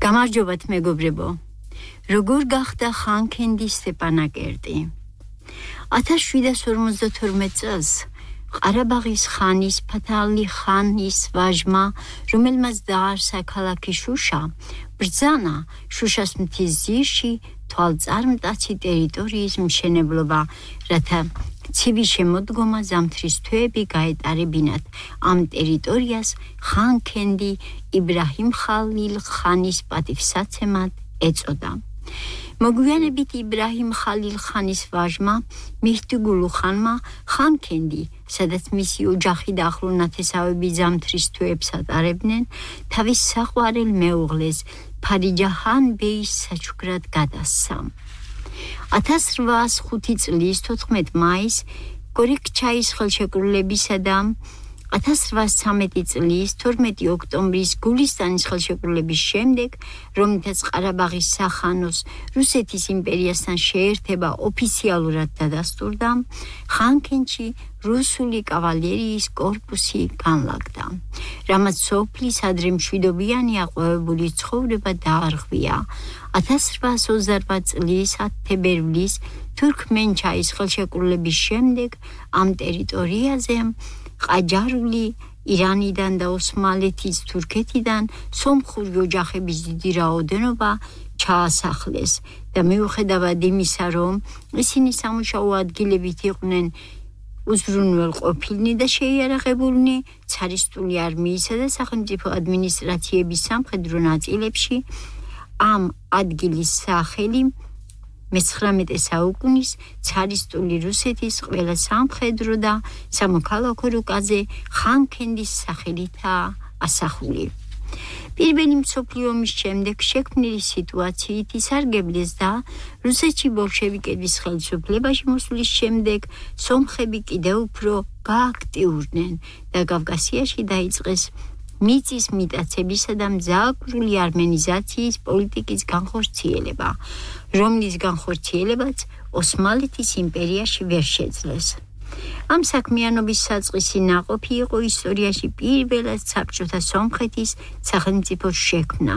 გამარჯობათ მეგობრებო. როგორ გახდა ხანქენდი სტეპანაკერტი? 1752 წელს ყარაბაღის ხანის ფათალი ხანის ვაჟმა, რომელმაც დაარსა ქალაქი შუშა, ბრძანა შუშას მთის ძირში თვალწარმტაცი ტერიტორიის მშენებლობა, რათა ცივი შემოდგომა ზამთრის თვეები გაეტარებინათ ამ ტერიტორიას ხანქენდი იბრაჰიმ ხალილ ხანის პატივსაცემად ეწოდა. მოგვიანებით იბრაჰიმ ხალილ ხანის ვაჟმა მიჰდიგულუ ხანმა ხანქენდი, სადაც მისი ოჯახი და ახლო ნათესავები ზამთრის თვეებს ატარებდნენ, თავის საყვარელ მეუღლეს ფარიჯაჰან ბეის საჩუქრად გადასცა. 1805 წლის 14 მაისს გორიქჩაის ხელშეკრულებისა და 1813 წლის 12 ოქტომბრის გულისტანის ხელშეკრულების შემდეგ, რომლითაც ყარაბაღის სახანოს რუსეთის იმპერიასთან შეერთება ოფიციალურად დადასტურდა, ხანქენში რუსული კავალერიის კორპუსი განლაგდა, რამაც სოფლის ადრე მშვიდობიანი აყვავებული ცხოვრება დაარღვია. 1828 წლის 10 თებერვლის თურქმენჩაის ხელშეკრულების შემდეგ ამ ტერიტორიაზე ყაჯარული ირანიდან და ოსმალეთის თურქეთიდან სომხური ოჯახების დიდი რაოდენობა ჩაასახლეს და მიუხედავად იმისა, რომ ისინი სამუშაო ადგილებით იყვნენ უზრუნველყოფილნი და შეიარაღებულნი, ცარისტული არმიისა და სახელმწიფო ადმინისტრაციების სამხედრო ნაწილებში ამ ადგილის სახელი მე-19 საუკუნის ცარისტული რუსეთის ყველა სამხედრო და სამოქალაქო რუკაზე ხანქენდის სახელითაა ასახული. პირველი მსოფლიო ომის შემდეგ შექმნილი სიტუაციით ისარგებლეს და რუსეთში ბოლშევიკების ხელისუფლებაში მოსვლის შემდეგ სომხები კიდევ უფრო გააქტიურდნენ და კავკასიაში დაიწყეს მიწის მიტაცებისა და მძაღვრული არმენიზაციის პოლიტიკის განხორციელება, რომლის განხორციელებაც ოსმალეთის იმპერიაში ვერ შეძლეს. ამ საქმიანობის საწყისი ნაყოფი იყო ისტორიაში პირველად საბჭოთა სომხეთის სახელმწიფოს შექმნა.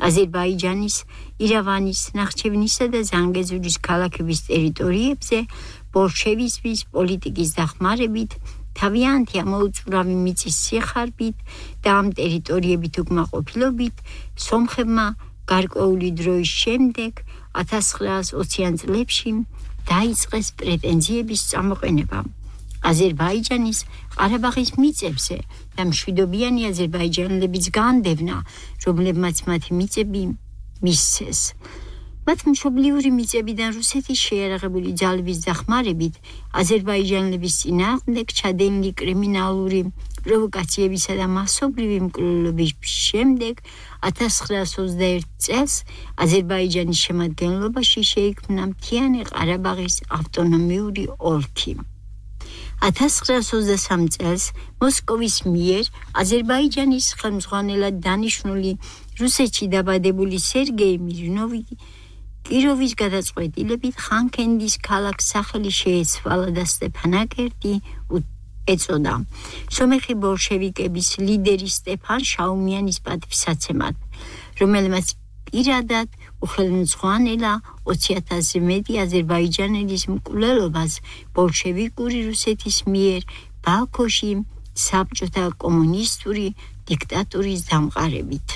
აზერბაიჯანის, ირევანის, ნახჩევინისა და ზანგეზურის ქალაქების ტერიტორიებზე ბოლშევიზმის პოლიტიკის დახმარებით, თავიანთი ამოუწურავი მიწის სიხარბით და ამ ტერიტორიებით უკმაყოფილობით სომხებმა გარკვეული დროის შემდეგ 1920-იან წლებში დაიწყეს პრეტენზიების წამოყენება აზერბაიჯანის ყარაბაღის მიწებზე და მშვიდობიანი აზერბაიჯანელების განდევნა, რომლებმაც მათი მიწები მისცეს. მათ მშობლიური მიწებიდან რუსეთის შეიარაღებული ძალების დახმარებით აზერბაიჯანელების წინააღმდეგ ჩადენილი კრიმინალური პროვოკაციებისა და მასობრივი მკვლელობის შემდეგ 1921 წელს აზერბაიჯანის შემადგენლობაში შეიქმნა მთიანი ყარაბაღის ავტონომიური ოლქი. 1923 წელს მოსკოვის მიერ აზერბაიჯანის ხელმძღვანელად დანიშნული რუსეთში დაბადებული სერგეი მირნოვი კიროვის გადაწყვეტილებით ხანქენდის ქალაქს სახელი შეეცვალა და სტეპანაკერტი ეწოდა სომეხი ბოლშევიკების ლიდერის სტეფან შაუმიანის პატივსაცემად, რომელმაც პირადად უხელმძღვანელა 20,000-ზე მეტი აზერბაიჯანელის მკვლელობას ბოლშევიკური რუსეთის მიერ ბაქოში საბჭოთა კომუნისტური დიქტატურის დამყარებით.